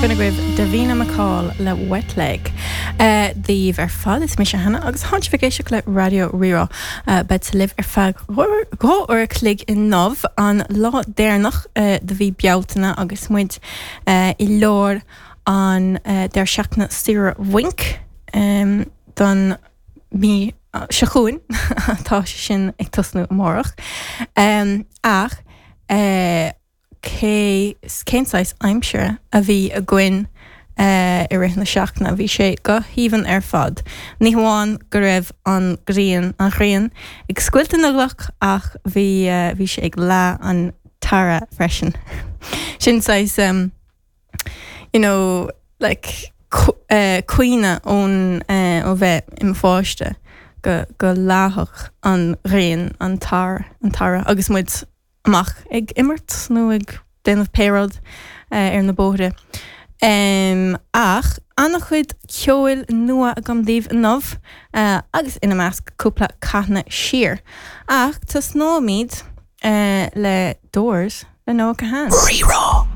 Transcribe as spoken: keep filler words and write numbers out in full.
B'in agaibh Davina McCall le Wet Leg. Daoibh ar fad is mise Hannah agus tánn sibh ag éisteacht le Raidió Rí-Rá. Bead libh ar feadh dhá uair a chloig inniu an lá deireanach de mhí Bealtaine agus muid i lár an deireadh seachtaine saoire bhainc don mí seo chugainn tá sé sin ag tosnú amárach. Ach cé cén saghas aimsire a bhí againn i rith na seachtaine, bhí sé go haoibhinn ar fad. Ní hamháin go raibh an ghrian an ghrian ag scoilteadh na gcloch ach bhí bhí sé ag leá an tarra freisin. Sin saghas um, you know, like cuimhne ón ó bheith i mo pháiste go go leáfadh an ghrian an tar an tarra agus muid amach ag imirt nó ag déanamh pé rud ar na bóithre. Um, ach an-chuid ceoil nua agam daoibh inniu uh, agus ina measc cúpla cadhna siar. Ach tosnóimid uh, le Doors le Noah Kahan. Rí-Rá.